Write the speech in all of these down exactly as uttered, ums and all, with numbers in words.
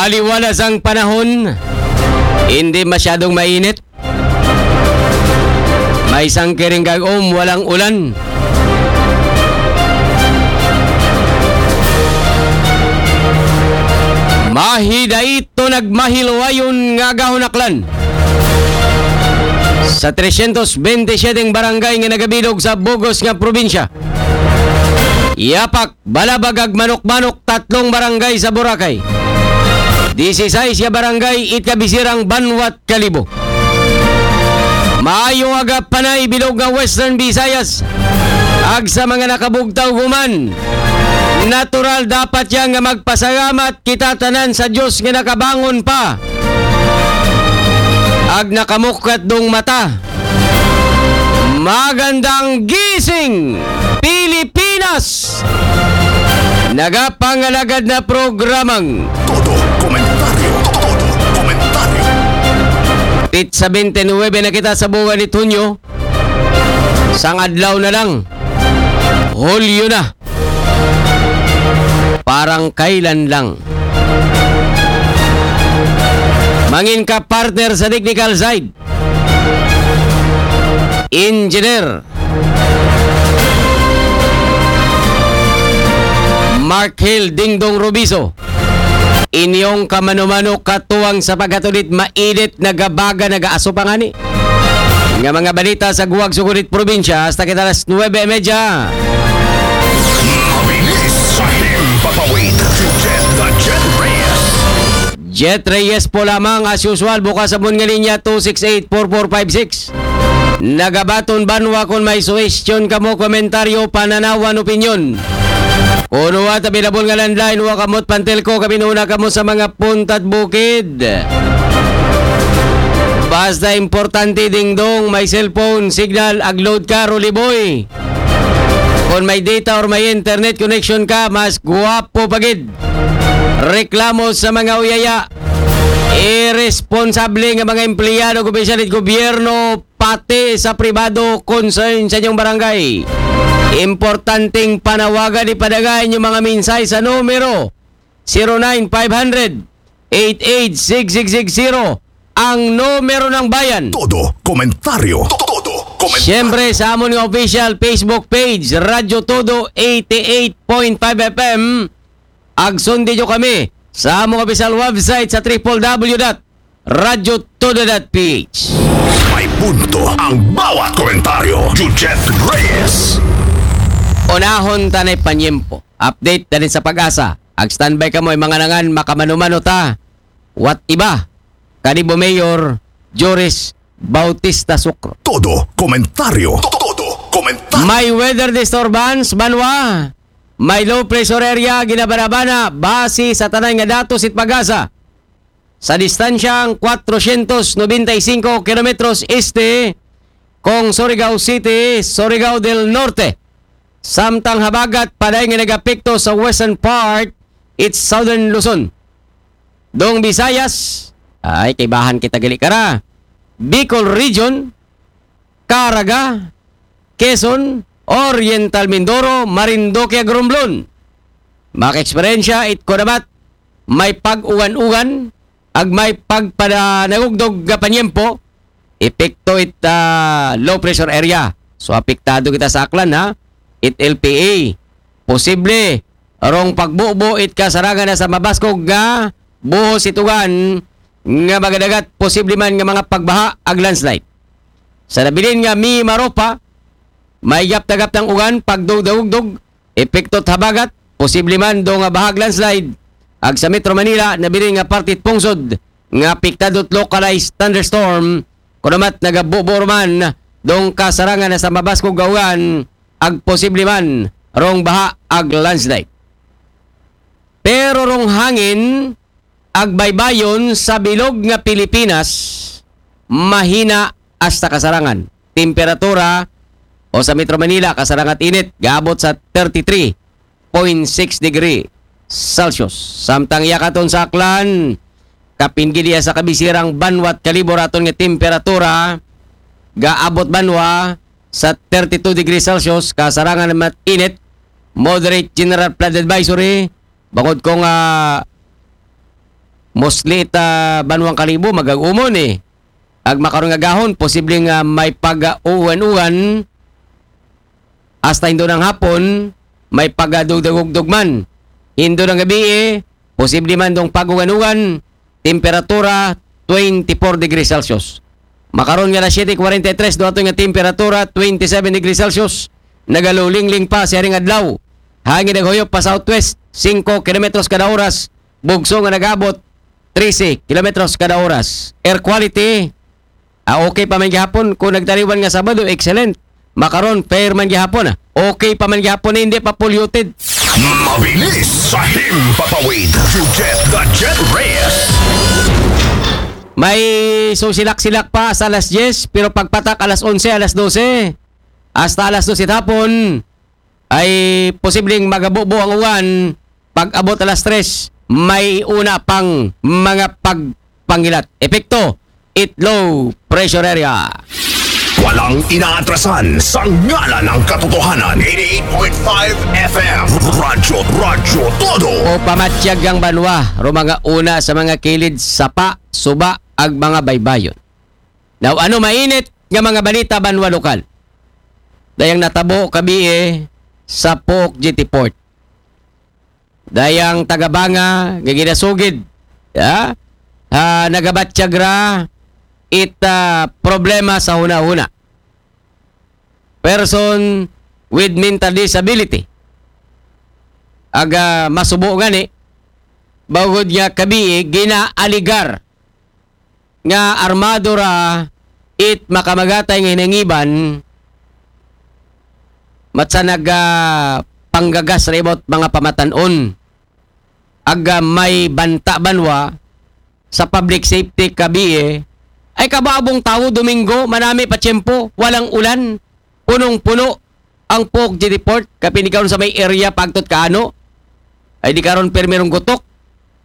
Aliwalas ang panahon, hindi masyadong mainit. May sangkiring gag-om, walang ulan. Mahidait to nagmahiluwayon nga gahunaklan sa tresyentos bente siyete barangay nga nagabilog sa bug-os nga probinsya. Yapak, Balabag ag Manok-Manok, tatlong barangay sa Boracay. Disisais nga barangay it kabisirang banwat Kalibo. Maayo aga panay bilog nga Western Visayas. Ag sa mga nakabugtaw human, natural dapat yan nga magpasalamat kita tanan sa Diyos nga nakabangon pa. Ag nakamukat dong mata. Magandang gising, Pilipinas! Nagapangalagad na programang Todo Komentaryo. Todo Komentaryo. Pitsa bente nuwebe na kita sa buwan ni Tunyo. Sang adlaw na lang. Hulyo na. Parang kailan lang. Mangin ka partner sa technical side. Engineer Mark Hill Dingdong Rubiso. Inyong kamano-mano katuwang sa pagkatulit, mainit, nagabaga, nagaaso pa ngani nga mga balita sa guwag sugurit probinsya hasta kita alas nuwebe y media. Mabilis sa himpapawid. Jet the Jet Reyes. Jet Reyes po lamang, as usual, bukas sa mga linya two six eight four four five six. Nagabaton banwa kung may suwestyon kamo, komentaryo, pananawan, opinyon. Kuno at available nga landline, wa kamot pantelko, kami nuna kamo sa mga puntad bukid. Basta importante, Dingdong, may cellphone signal, ag load ka, Rolly Boy. Kung may data or may internet connection ka, mas guwapo pagid. Reklamo sa mga uyaya. Irresponsable nga mga empleyado ug opisyal sa gobyerno, pati sa pribado, concern sa inyong barangay. Importanteng panawagan, ipadala inyong mga mensahe sa numero zero nine five hundred, eight eight six six six zero, ang numero ng bayan. Todo komentaryo. Todo komentaryo. Siyempre, sa amon nga official Facebook page, Radyo Todo eighty-eight point five F M. Ag sundi nyo kami sa among official website sa triple W dot radyo todo dot P H. May punto ang bawat komentaryo. Jujet Reyes. Unahon tanay panyempo. Update na din sa pag-asa. Ag standby ka mo, mga nangan, makamano-mano ta. What iba? Kanibo Mayor Joris Bautista Sucro. Todo komentaryo. Todo komentaryo. May weather disturbance, banwa. May low pressure area, ginabanabana, base sa tanan nga datos it pag-asa. Sa distansyang kwatrosyentos nobenta y singko kilometros este, kong Surigao City, Surigao del Norte. Samtang habagat, paday nga nagapekto sa western part, it's southern Luzon. Dong Visayas, ay, kaibahan kita gali kara. Bicol Region, Caraga, Quezon, Oriental Mindoro, Marinduque, ag Romblon. Maka-eksperyensya it kunabat, may pag-uwan-uwan, ag may pagpadanagugdog nga panyempo, epekto it, ah, low pressure area. So, apektado kita sa Aklan, ha? It L P A. Posible, rong pagbubo it kasarangan na sa mabaskog nga buhos it ugan nga magadagat, posible man nga mga pagbaha ag landslide. Sa nabilin nga Mimaropa, may gapta-gaptang ugan, pagdugdagugdog, epekto habagat, posible man do nga bahag landslide. Ag sa Metro Manila, nabilin nga parte pungsod nga apektado localized thunderstorm, kunamat nagabubo man dong kasarangan na sa mabaskog nga ugan, ag posible man rong baha ag landslide. Pero rong hangin, ag baybayon sa bilog nga Pilipinas, mahina hasta kasarangan. Temperatura o sa Metro Manila, kasarangan init, gaabot sa thirty-three point six degree Celsius. Samtang yakaton sa Aklan, kapin gid iya sa kabisirang banwat Kalibo raton nga temperatura, gaabot banwa sa thirty-two degree Celsius, kasarangan naman init, moderate general flood advisory, bangod ko nga Mostly ita banwang Kalibo, magag-umon eh. Ag makaron nga gahon, posible nga may pag-uwan-uwan hasta hindo ng hapon, may pag-adugdagugdog man. Hindo ng gabi eh, posible man dong pag-uwan-uwan, temperatura twenty-four degrees Celsius. Makaron nga alas siyete forty-three, duaton nga temperatura twenty-seven degrees Celsius. Nagalulingling pa siya ring adlaw. Hangin naghuyop pa southwest, five kilometers kada oras. Bugso nga nag-abot, thirty kilometers kada oras. Air quality, ah, okay pa man gihapon. Kung nagtaliwan nga Sabado, excellent. Makaron, fair man gihapon, ah. Okay pa man gihapon, hindi pa polluted. Mabilis sa himpapawid. You get the Jet Reyes. May susilak-silak pa sa alas diyes, pero pagpatak alas onse, alas dose, hasta alas dose hapon, ay posibleng magabubo ang uwan. Pag-abot alas tres, may una pang mga pagpangilat. Epekto, it low pressure area. Walang inaatrasan sa ngalan ng katotohanan. eighty-eight point five F M. Radyo, Radyo Todo. O pamatyag ang banwa, ro mga una sa mga kilid, sapa, suba, ag mga baybayon. Now, ano mainit nga mga balita banwa lokal? Dayang natabo kabi eh, sa Pook Jetty Port. Dayang tagabanga nga ginasugid, ya? Ah, nagabatyag ra it ah, problema sa huna-huna. Person with mental disability. Aga masubo gani, bawod nga kabi eh, ginaaligar nga armado ra it makamagatay nga hinangiban, matsa naga panggagas ra ibot mga pamatanon. Aga may banta banwa sa public safety kabi eh, ay kababong tawo Domingo, manami pa tiyempo, walang ulan, punong-puno ang Pook Jetty Port, kapin karon sa may area pagtot kaano, ay di karon permirong gutok,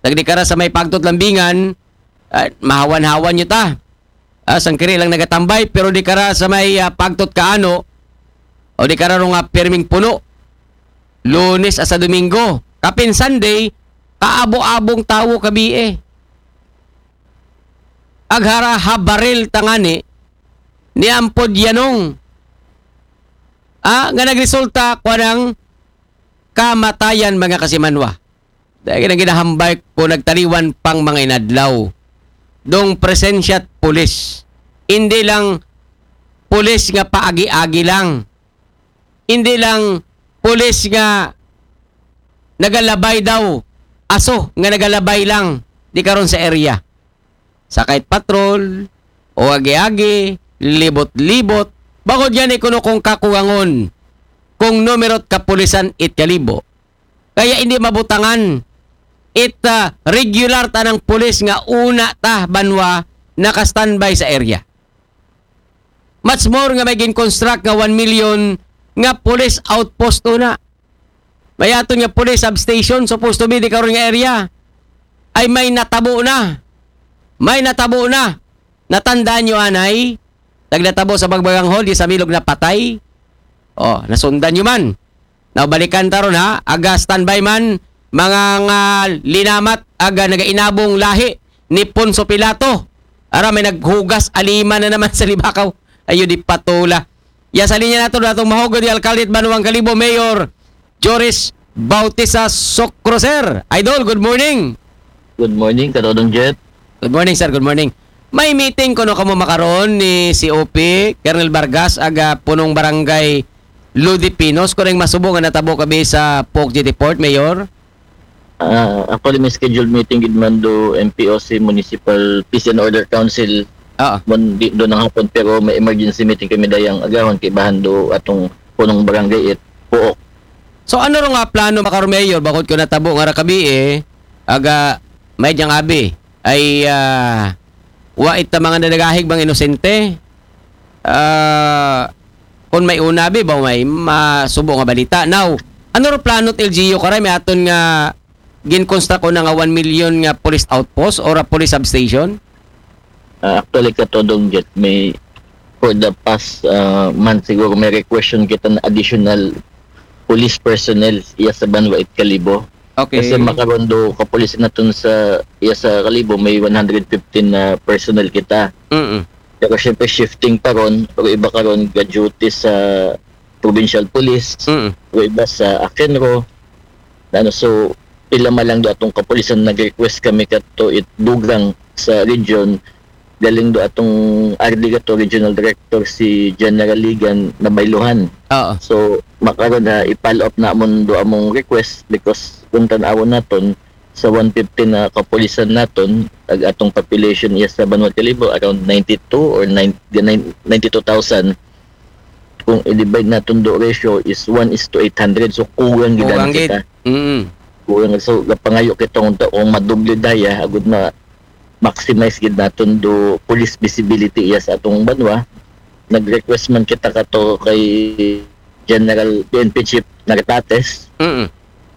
nagdi kara sa may pagtot lambingan, ah, mahawan-hawan nyo ta. Ah, sangkiri lang nagatambay, pero di kara sa may ah, pagtot kaano, o di kara nga pirming puno. Lunes asa Domingo. Kapin Sunday, kaabo-abong tawo kabi eh. Aghara habaril tangani, ni Ampod Yanong. Ah, nga nagresulta kwa ng kamatayan mga kasimanwa. Dahil nang ginahambay ko nagtaliwan pang mga inadlaw. Dong presensya at pulis. Hindi lang pulis nga paagi-agi lang. Hindi lang pulis nga nagalabay daw. Aso nga nagalabay lang. Di karon sa area. Sakay patrol, o agi-agi, libot-libot. Bakod yan, ikuno kong kakuwangon kung numerot kapulisan it Kalibo. Kaya hindi mabutangan it ah, regular tanang pulis nga una ta banwa naka-standby sa area. Much more nga may gin-construct nga one million nga police outpost una. May aton nga police substation supposed to be di karon nga area. Ay may natabo na. May natabo na. Natandaan nyo anay? Tagnatabo sa Bagbagang Hall, di sa Milog napatay. Oh, nasundan nyo man. Now, balikan ta ron ha. Aga standby man, mga nga linamat, aga nagainabong lahi ni Ponso Pilato. Ara, may naghugas alima na naman sa Libakaw. Ayo, di patula. Ya sa linya nato, datong mahugod di alkalde at Banwang Kalibo, Mayor Joris Bautista Socro, sir. Idol, good morning. Good morning, Katodong Jet. Good morning, sir. Good morning. May meeting kuno kamo makaron ni C O P, Colonel Vargas, aga punong barangay Ludipinos. Kunang masubo nga natabo kabi sa Pook Jetty Port, Mayor? Ah, actually, may scheduled meeting gid man do M P O C, Municipal Peace and Order Council, Oo. Mon, di, doon ng hapon, pero may emergency meeting kami dayang agahon kay bahan do atong punong barangay it Puok. So ano ro nga plano makaron, Mayor, bakod ko natabo nga ra kabi eh, aga may diyang abi ay ah, wa ita mga nadagahig bang inosente? Ah, kung may una abi ba may masubo nga balita. Now, ano ro plano it L G U karay, may aton nga gin-construct una nga one million nga police outpost or a police substation? Ah, actually, Katodong Jet, may for the past ah, month siguro may request kita na additional police personnel iya sa Banwa it Kalibo. Okay. Kasi makaron do kapulisan naton sa iya sa Kalibo may one hundred fifteen na personnel kita. Mm. Pero syempre shifting pa ron, pero iba karon ga-duty sa provincial police, Mm. o iba sa Akenro. Ano, so, ila man lang do atong kapulisan nag-request kami kato it dugang sa region, galing do atong R D kato, regional director si General Ligan Nabayluhan. Oo. So, makaron na i-follow up namon do among request because kung tan-awon naton sa one fifty na kapulisan naton, ag atong population iya sa Banwa Kalibo around ninety-two or nine, nine, ninety-two thousand. Kung i-divide naton do ratio is one is to eight hundred. So, kuwang gid Kuwang kita. gid. Mm. Kuwang. So, gapangayo kita unta kung madoble daya, agud ma maximize gid naton do police visibility iya sa atong banwa. Nag-request man kita kato kay General P N P Chief Nartates Mm.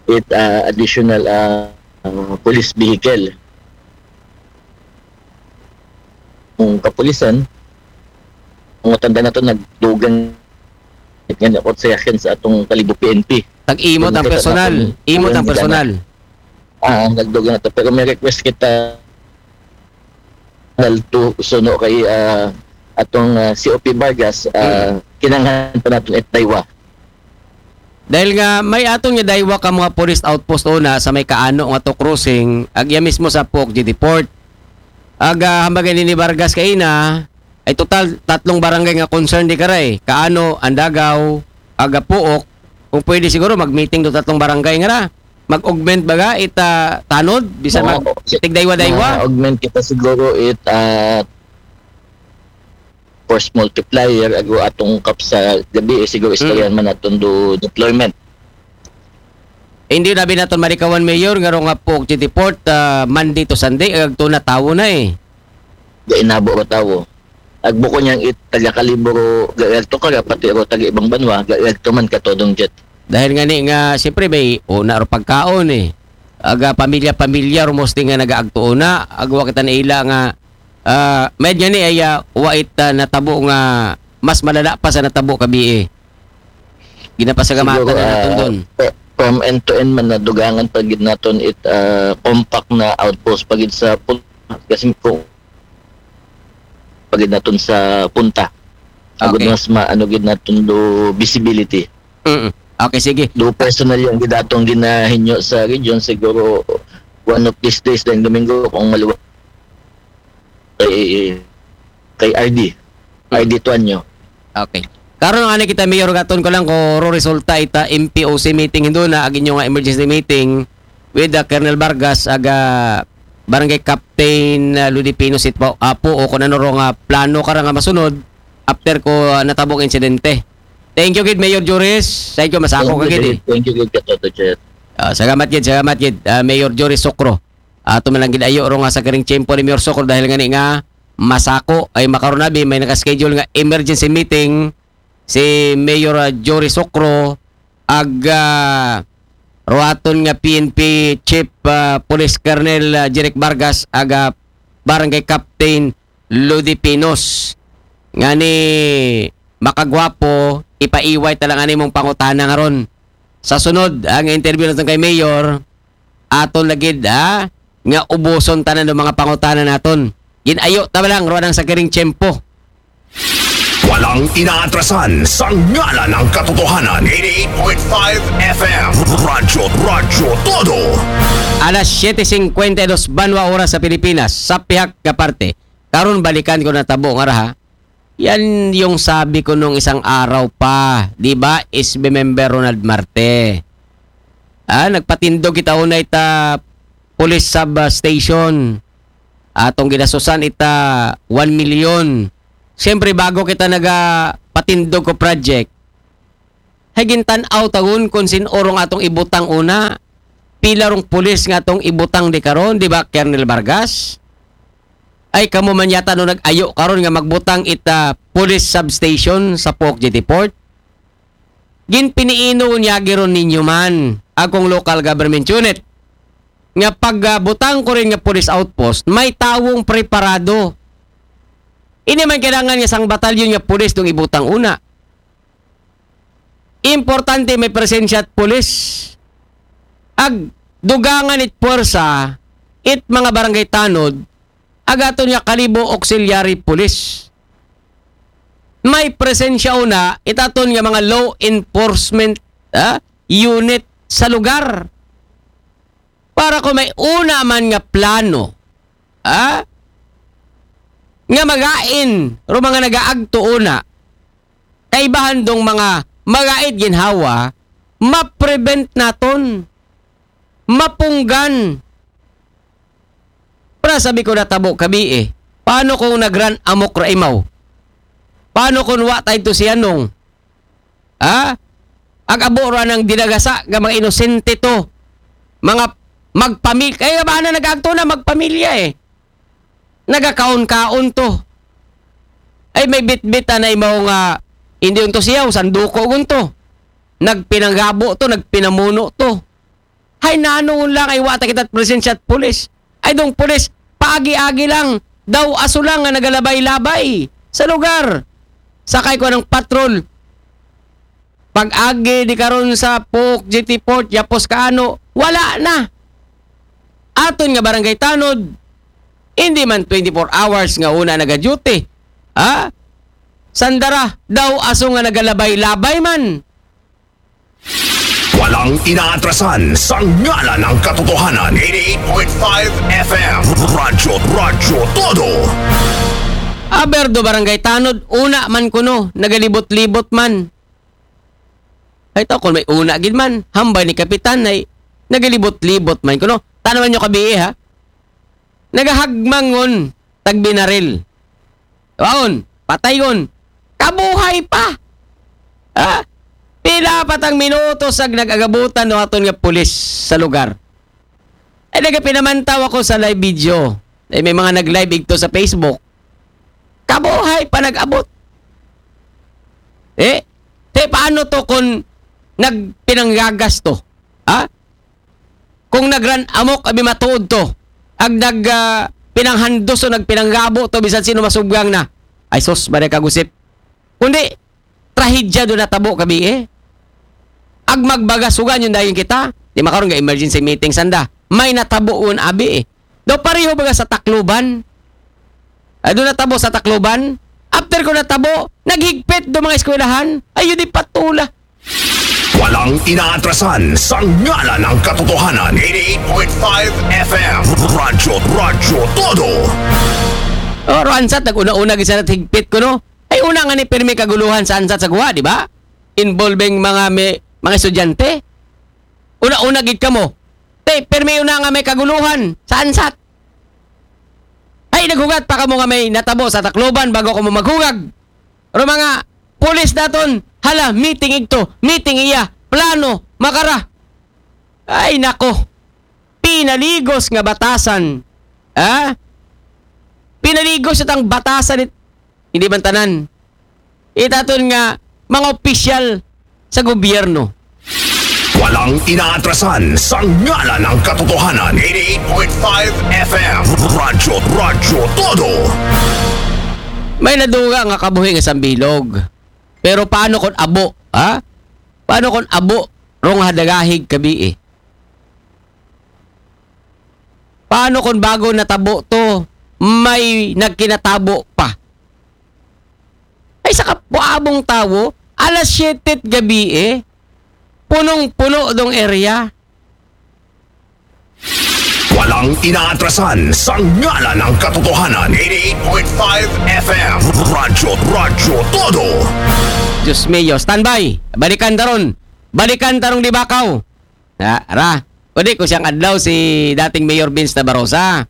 it ah, additional ah, ah, police vehicle. Kung kapulisan, kung tanda nato nagdugang nga nakot sa yakin sa atong Kalibo P N P. Tag-imo tang personal. Imo tang personal. Ah, nagdugang nato. Pero may request kita dahil to suno kay ah, atong ah, C O P Vargas, ah, kinanglan pa naton it daywa. Dahil nga may aton nga daywa ka mga police outpost una sa may Kaano nga to crossing, agya mismo sa Puok G D Port. Aga hambagay ni Vargas kaina, ay total tatlong barangay nga concern di karay. Kaano, Andagaw, aga Puok. Kung pwede siguro mag-meeting do tatlong barangay nga ra. Mag-augment baga ita tanod bisan mag Oo. tigdaywa-daywa. Ma-augment kita siguro it ah, force multiplier ago atong kap sa gabi eh, siguro istoryahan man naton do deployment. Hindi na binaton marikawan mayor nga ro nga Puok G D Port ah, Monday to Sunday agto na tawo na eh. Ga inabo ro tawo. Agbuko niyang it taga Kalibo ro ga to ka pati ro taga ibang banwa ga to man katodong jet. Dahil nga ni nga siyempre may una ro pagkaon eh. Aga pamilya-pamilya ro mostly nga nagaagto una. Agwa kita na ila nga ah, med nga ni ay ah, wa it ah, natabo nga mas malala pa sa natabo kabi eh. Ginapasagamatan Siguro, na naton ah, doon. pe- from end to end man nadugangan pa gid naton it ah, compact na outpost pa gid sa pun- kasi kung pa gid naton sa punta. Agud Okay. Mas maano gid naton do visibility. Mm-mm. Okay, sige. Do personal yung gid atong ginahinyo sa region siguro one of these days din Domingo kung maluwa kay kay R D. R D Tuanyo. Okay. Karon nga ni kita mayor gaton ko lang ko ro resulta ita M P O C meeting hindo na ag inyo nga emergency meeting with the Colonel Vargas aga Barangay Captain uh, Ludipino Sitpo apo o kung ano ro nga plano ka ra nga masunod after ko uh, natabong insidente. Thank you gid Mayor Joris. Thank you masako ka gid eh. Thank you gid Katoto Chet. Ah, salamat gid, salamat gid ah, Mayor Joris Sokro. Ato man lang gid ayo ro nga sa kiring tiyempo ni Mayor Sokro dahil nga ni nga masako ay makaronabi may naka-schedule nga emergency meeting si Mayor ah, Jory Sokro ag ah, ruaton nga P N P Chief ah, Police Colonel ah, Jeric Vargas ag ah, Barangay Captain Lodi Pinos nga ni makagwapo ipaiway ta lang ani mong pangutana nga ron sa sunod ang interview naton kay Mayor aton lagid ha nga ubuson tanan ng mga pangutana naton. Ginayo ta lang ruanang sa kiring tiyempo. Walang inaatrasan sa ngalan ng katotohanan. eighty-eight point five F M. Radyo, Radyo Todo. Alas siyete singkwenta y dos banwa oras sa Pilipinas, sa pihak nga parte. Karon balikan ko na tabo nga raha. Yan yung sabi ko nung isang araw pa, di ba? S B member Ronald Marte. Ah, nagpatindog kita unay ta police sub ah, station. Atong ginasusan ita one million. Siyempre bago kita naga patindog ko project, hay gintan-aw tagun kung sin orong atong ibutang una. Pila rong pulis nga atong ibutang di karon, di ba, Colonel Vargas? Ay kamo man yata no nag-ayo karon nga magbutang ita police substation sa Pok Jetty Port. Ginpiniino unya giron ninyo man akong local government unit nga pagbutang ko rin nga police outpost may tawong preparado. Ini man kailangan nga sang batalyon nga pulis dong ibutang una. Importante may presensya at pulis. Ag dugangan it puwersa, it mga barangay tanod, ag aton nga Kalibo Auxiliary Police. May presensya una, it aton nga mga law enforcement, ah, unit sa lugar. Para kung may una man nga plano, ah, nga magain, ro mga nagaagto una, kaibahan dong mga magait ginhawa, ma-prevent naton, mapunggan. Para sabi ko natabo kabi eh. Paano kung nagran amok ra imaw? Paano kung wa tayo to si Anong? Ha? Ag abo ra ng dinagasa nga mga inosente to. Mga magpamilya. Kaya ba na nag-agto na magpamilya eh? Nagakaon-kaon to. Ay may bitbit na imaw nga hindi unto siya, sanduko gunto. Nagpinanggabo to, nagpinamuno to. Hay nano lang ay wa ta kita presensya at pulis. Ay dong pulis, paagi-agi lang. Daw aso lang nga nagalabay-labay sa lugar. Sakay ko ng patrol. Pag-agi di karon sa Pok, G T Port, Yapos Kaano, wala na. Aton nga barangay tanod, hindi man twenty-four hours nga una naga-duty. Ha? Sandara, daw aso nga nagalabay-labay man. Walang inaatrasan sa ngalan ng katotohanan. eighty-eight point five F M. Radyo, Radyo Todo. Aber do barangay tanod, una man kuno, nagalibot-libot man. Ay to, kung may una gid man, hambay ni Kapitan ay nagalibot-libot man kuno. Tanawan nyo kabi ha? Nagahagmangon, tagbinaril. Waon, pataygon. Kabuhay pa! Ha? Pila pa tang minutos ag nag-agabutan do aton nga pulis sa lugar. Ay nagapinamantaw ako sa live video. Ay may mga nag-live igto sa Facebook. Kabuhay pa nag-abot. Eh, te paano to kung nagpinanggagas to? Ha? Kung nagran amok abi matuod to, ag nag ah, pinanghandos o nagpinanggabo to bisan sino masubgang na. Ay sus, bare kagusip. Kundi, trahedya do natabo kabi eh. Ag magbagasugan yung dayon kita. Di makaroon nga emergency meeting sanda. May natabo un abi eh. Daw pareho baga sa Tacloban. Ay, do natabo sa Tacloban. After ko natabo, naghigpit do mga eskwelahan. Ay, yun di patula. Walang inaatrasan sa ngalan ng katotohanan. eighty-eight point five F M. Radyo, Radyo Todo. Oro ansat, nag-una-una gid sa higpit ko, no? Ay, una nga ni pirmi kaguluhan sa ansat sa guwa, di ba? Involving mga may, mga estudyante. Una-una gid kamo. Te, pirmi una nga may kaguluhan sa ansat. Ay, naghugat pa kamo nga may natabo sa Tacloban bago kamo maghugag. Pero mga pulis naton, hala, meeting igto, meeting iya, plano, makara. Ay, nako. Pinaligos nga batasan. Ha? Pinaligos itang batasan it-, hindi man tanan. Itaton nga mga opisyal sa gobyerno. Walang inaatrasan sa ngalan ng katotohanan. eighty-eight point five F M. Radyo, Radyo Todo. May naduga nga kabuhi nga sambilog. Pero paano kung abo? Ha? Paano kung abo? Rong hadagahig kabi eh. Paano kung bago natabo to? May nagkinatabo pa. Ay sa kapuabong tawo, alas siyete gabi eh. Punong-puno dong area. Walang inaatrasan sa ngalan ng katotohanan. eighty-eight point five F M. Radyo, Radyo Todo. Diyos mio, standby. Balikan taron. Balikan tarong libakaw. Ha, ra. Pwede ko siyang adlaw si dating Mayor Vince Nabarosa.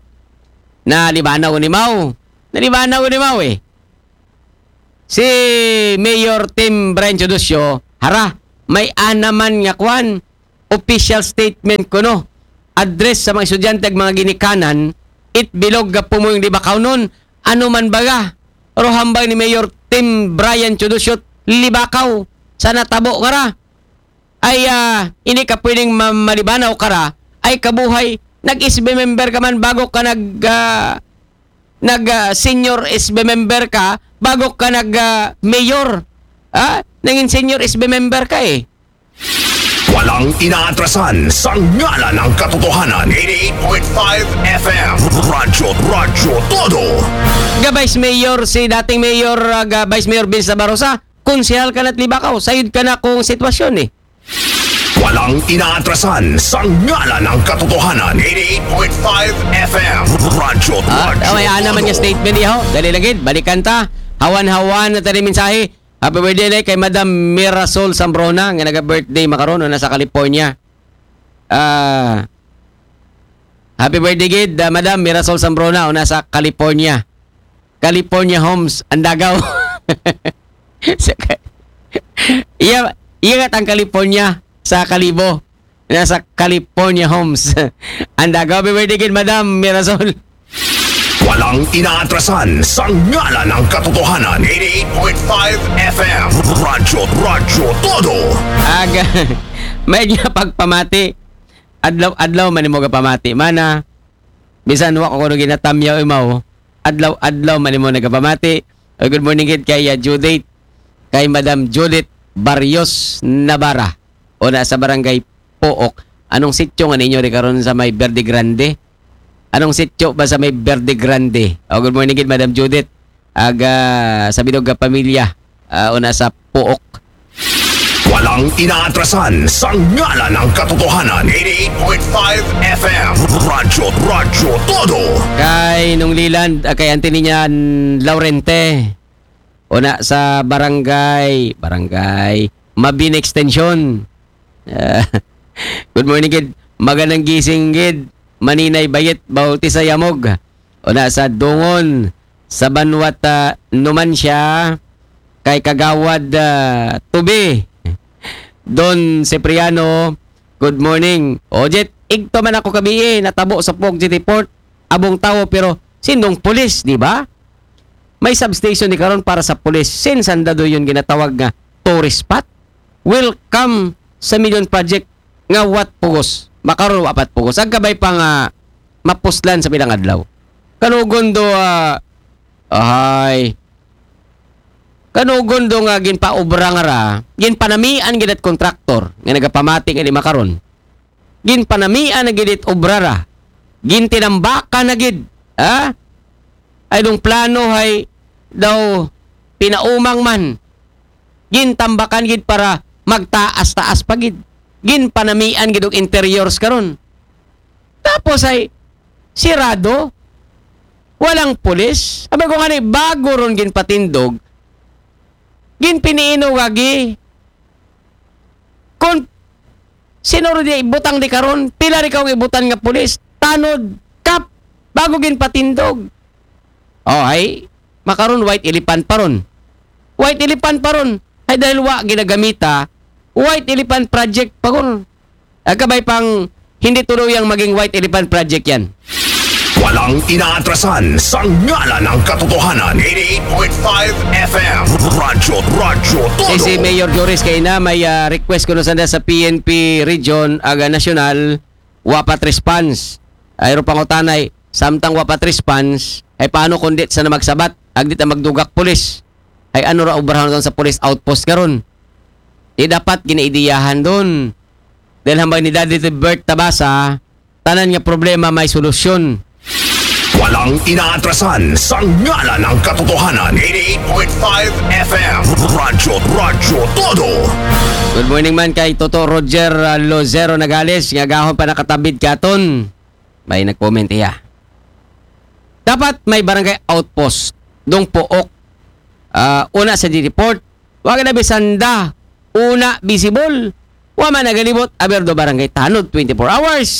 Na libanaw ni Mau. Na libanaw ni Mau eh. Si Mayor Tim Brian Chodosyo, hara, may anaman nga kwan, official statement kuno. Address sa mga estudyante ag mga ginikanan, it bilog ga pumuyong libakaw nun, ano man baga. Pero hambay ni Mayor Tim Brian Chodosyo, libakaw sa natabo nga ra. Ay ah, ini ka pwedeng ma- malibanaw kara, ay kabuhay, nag-S B member ka man bago ka nag ah, nag ah, senior S B member ka, bago ka nag ah, mayor. Ha? Nangin senior S B member ka eh. Walang inaatrasan sa ngalan ng katotohanan. Eighty-eight point five F M. Radyo, Radyo Todo. Ga Vice Mayor, si dating Mayor, ah, ga Vice Mayor Vince Navarrosa, konsehal ka na Libacao, sayod ka na kung sitwasyon eh. Walang inaatrasan sa ngalan ng katotohanan. Eighty-eight point five F M. Radyo, Ah, Radyo oh, ay, Todo. Naman nga statement iho. Dali lagi, balikan ta. Hawan-hawan na tani mensahe. Happy birthday na kay Madam Mirasol Sambrona nga naga-birthday makaron, una sa California. Ah, happy birthday gid, ah, Madam Mirasol Sambrona, una sa California. California Homes, Andagaw. Sa ka- iya, iya nga tang California sa Kalibo. Nasa California Homes. Andagaw, happy birthday gid, Madam Mirasol. Walang inaatrasan sa ngalan ng katotohanan. Eighty-eight point five F M. Radyo, Radyo Todo. Aga, may nga pagpamati. Adlaw-adlaw man mo gapamati. Mana, bisan wa ko kuno ginatamyaw imaw. Adlaw-adlaw man mo nagapamati. Oh, good morning gid kay, ah, Judith. Kay Madam Judith Barrios Navarra. Una sa barangay Pook. Anong sityo nga ninyo di karon sa may Verde Grande? Anong sityo ba sa may Verde Grande? Oh, good morning gid, Madam Judith. Aga sa Bidog nga pamilya. Ah, una sa Pook. Walang inaatrasan sa ngalan ng katotohanan. Eighty-eight point five F M. Radyo, Radyo Todo. Kay Nung Liland, ah, kay Auntie niya Laurente. Una sa barangay, barangay Mabini Extension. Ah, good morning gid. Magandang gising gid. Maninay Bayit, Bautista Yamog. Una sa Dungon, sa Banwat, ah, Numancia, kay Kagawad, ah, Tubi. Don Cipriano, good morning. O, Jet, igto man ako kabi eh, natabo sa Pog City Port, abong tawo, pero sindong pulis, di ba? May substation ni karon para sa pulis. Since ang dado yun ginatawag nga tourist spot. Welcome sa Million Project nga wat pugos. Makaron wa pat pugos. Ang kabay pa nga mapuslan sa bilang adlaw. Kanugon do, ah, ahay. Kanugon do nga ginpaobra nga ra, ginpanamian gid at kontraktor nga nagapamati nga di makaron. Ginpanamian na gid it obra ra. Gintinambakan na gid, ha? Ay dong plano hay daw pinaumang man. Gintambakan gid para magtaas-taas pa gid. Ginpanamian gid og interiors karon. Tapos ay sirado. Walang pulis. Sabi ko nga ni, bago ron ginpatindog, ginpiniino gagi. Kung sino rin di ibutang di karon, pila rin kaong ibutan nga pulis, tanod, kap, bago ginpatindog. Oh, ay, makaron white elephant pa ron. White elephant pa ron. Ay dahil wa ginagamita, white elephant project pa ron. Ang kabay pang hindi tuluyang maging white elephant project yan. Walang inaatrasan sa ngalan ng katotohanan. Eighty-eight point five F M. Radyo, Radyo Todo. Eh, si Mayor Joris kay na may, ah, request ko na sana sa P N P region, aga nasyonal, wapat response. Ay ro pangutanay, samtang wapat response, ay paano kung di sana magsabat? Agdi ta magdugak pulis. Ay ano ra obrahon sa police outpost karon? Di dapat ginaidiyahan doon. Dahil hambang ni Daddy Bert Tabasa, tanan nga problema may solusyon. Walang inaatrasan sa ngalan ng katotohanan. Eighty-eight point five F M. Radyo, Radyo Todo. Good morning man kay Toto Roger, ah, Lozero Nagales, nga gahon pa nakatabid katon. May nag-comment iya. Dapat may barangay outpost dong Pook. Ah, una sa G D Port, wag na bisanda, una visible. Wa man nagalibot, aber do barangay tanod twenty-four hours.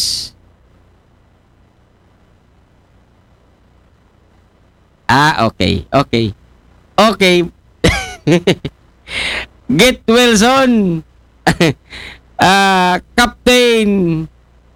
Ah, okay, okay. Okay. Get Wilson. Ah, Captain